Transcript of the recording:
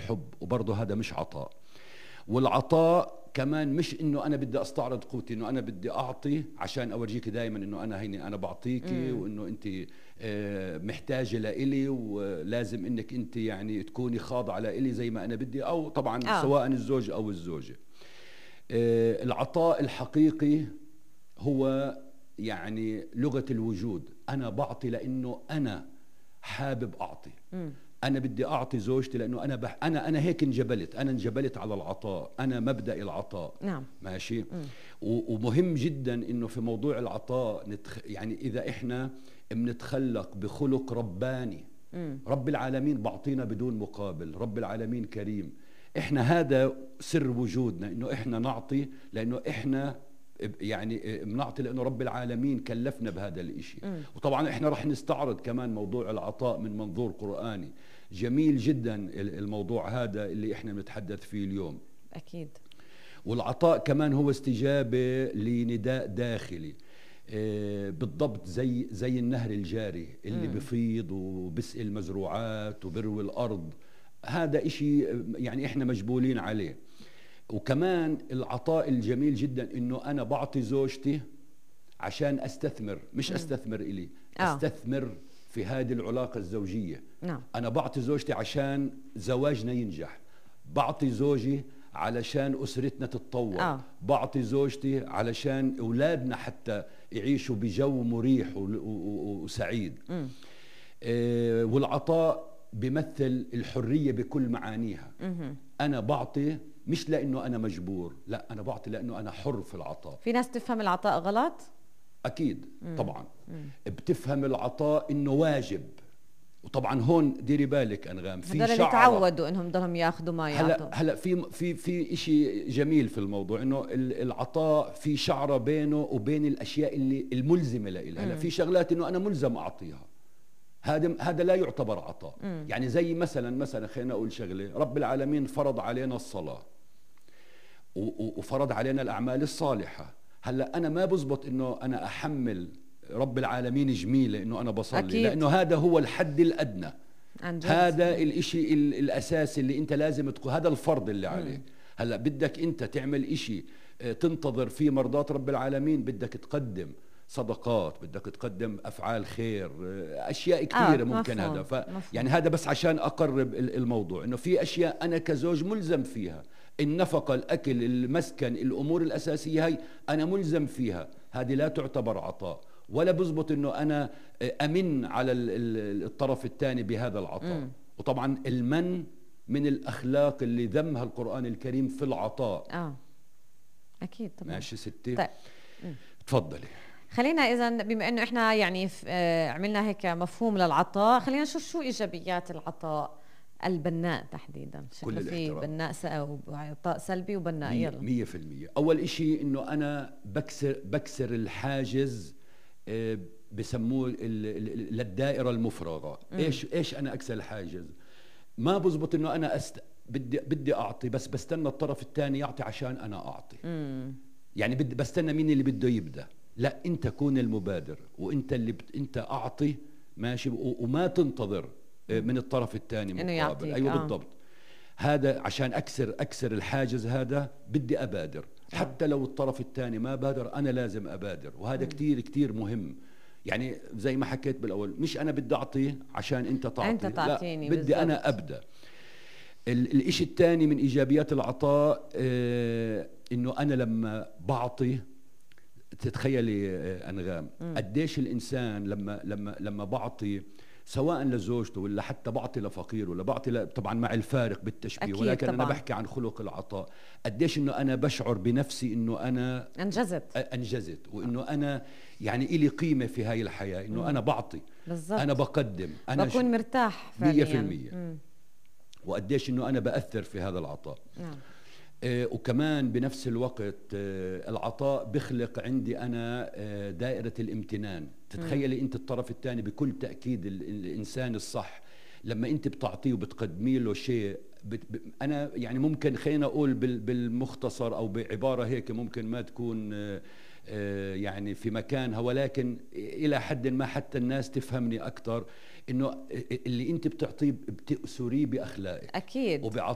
حب، وبرضه هذا مش عطاء. والعطاء كمان مش انه انا بدي استعرض قوتي، انه انا بدي اعطي عشان اورجيك دائما انه انا هيني انا بعطيكي، وانه انت محتاجه لإلي، ولازم انك انت يعني تكوني خاضعه لإلي زي ما انا بدي، او طبعا سواء الزوج او الزوجه. العطاء الحقيقي هو يعني لغه الوجود. انا بعطي لانه انا حابب اعطي. أنا بدي أعطي زوجتي لأنه أنا هيك انجبلت على العطاء، أنا مبدأ العطاء. نعم. ماشي. ومهم جدا إنه في موضوع العطاء يعني إذا إحنا بنتخلق بخلق رباني، رب العالمين بعطينا بدون مقابل، رب العالمين كريم. إحنا هذا سر وجودنا، إنه إحنا نعطي لأنه إحنا يعني بنعطي لأنه رب العالمين كلفنا بهذا الإشي. وطبعا إحنا رح نستعرض كمان موضوع العطاء من منظور قرآني جميل جدا، الموضوع هذا اللي إحنا بنتحدث فيه اليوم. أكيد. والعطاء كمان هو استجابة لنداء داخلي، بالضبط زي النهر الجاري اللي بفيض وبسقي المزروعات وبروي الأرض. هذا إشي يعني إحنا مجبولين عليه. وكمان العطاء الجميل جدا انه انا بعطي زوجتي عشان استثمر، مش استثمر الي، استثمر في هذه العلاقة الزوجية. نعم. انا بعطي زوجتي عشان زواجنا ينجح، بعطي زوجي علشان اسرتنا تتطور، بعطي زوجتي علشان اولادنا حتى يعيشوا بجو مريح وسعيد. والعطاء بيمثل الحرية بكل معانيها. انا بعطي مش لأنه أنا مجبور، لا، أنا بعطي لأنه أنا حر في العطاء. في ناس تفهم العطاء غلط؟ أكيد. طبعا بتفهم العطاء إنه واجب. وطبعا هون ديري بالك أنغام، في هذول اللي تعودوا إنهم ضلهم ياخذوا ما يعطوا. هلا في إشي جميل في الموضوع، إنه العطاء في شعرة بينه وبين الأشياء اللي الملزمة لإلها. هلا في شغلات إنه أنا ملزم أعطيها، هذا لا يعتبر عطاء. يعني زي مثلا خلينا أقول شغلة، رب العالمين فرض علينا الصلاة وفرض علينا الأعمال الصالحة. هلا أنا ما بزبط إنه أنا أحمل رب العالمين جميلة إنه أنا بصلي. أكيد. لأنه هذا هو الحد الأدنى، هذا الإشي الأساسي اللي أنت لازم تكون، هذا الفرض اللي عليك. هلا بدك أنت تعمل إشي تنتظر فيه مرضات رب العالمين، بدك تقدم صدقات، بدك تقدم أفعال خير، أشياء كثيرة ممكن. هذا يعني هذا بس عشان أقرب الموضوع، إنه في أشياء أنا كزوج ملزم فيها، النفقة، الأكل، المسكن، الأمور الأساسية هاي أنا ملزم فيها. هذه لا تعتبر عطاء، ولا بزبط إنه أنا أمن على الطرف الثاني بهذا العطاء. وطبعا المن من الأخلاق اللي ذمها القرآن الكريم في العطاء. أكيد طبعا. ماشي ستي؟ طيب. تفضلي. خلينا إذن بما أنه إحنا يعني عملنا هيك مفهوم للعطاء، خلينا نشوف شو إيجابيات العطاء البناء تحديدا. كل في بناء وعطاء سلبي وبناء. يلا 100%. أول إشي إنه أنا بكسر الحاجز، بسموه للدائرة المفرغة. إيش أنا أكسر الحاجز؟ ما بزبط إنه أنا بدي أعطي، بس بستنى الطرف الثاني يعطي عشان أنا أعطي. يعني بستنى مين اللي بده يبدأ. لا، انت كون المبادر، وانت اللي انت اعطي. ماشي. وما تنتظر من الطرف الثاني مقابل. ايوه بالضبط. هذا عشان اكسر الحاجز هذا بدي ابادر. حتى لو الطرف الثاني ما بادر انا لازم ابادر، وهذا كتير كتير مهم. يعني زي ما حكيت بالاول، مش انا بدي اعطي عشان انت تعطي، انت تعطيني، لا، بدي بالزبط. انا ابدا. الاشي الثاني من ايجابيات العطاء انه انا لما بعطي، تتخيلي أنغام قديش الإنسان لما بعطي سواء لزوجته ولا حتى بعطي لفقير ولا بعطي طبعا مع الفارق بالتشبيه، ولكن طبعاً. أنا بحكي عن خلق العطاء. قديش إنه أنا بشعر بنفسي إنه أنا أنجزت وإنه أنا يعني إلي قيمة في هاي الحياة، إنه أنا بعطي بالزبط. أنا بقدم، أنا بكون مرتاح فعليا 100%. وقديش إنه أنا بأثر في هذا العطاء. نعم. وكمان بنفس الوقت العطاء بخلق عندي أنا دائرة الامتنان. تتخيلي أنت الطرف الثاني بكل تأكيد الإنسان الصح لما أنت بتعطيه وبتقدمي له شيء. أنا يعني ممكن خلينا أقول بالمختصر أو بعبارة هيك ممكن ما تكون يعني في مكانها، ولكن إلى حد ما حتى الناس تفهمني أكتر، إنه اللي أنت بتعطيه بتأسريه بأخلاقك. أكيد.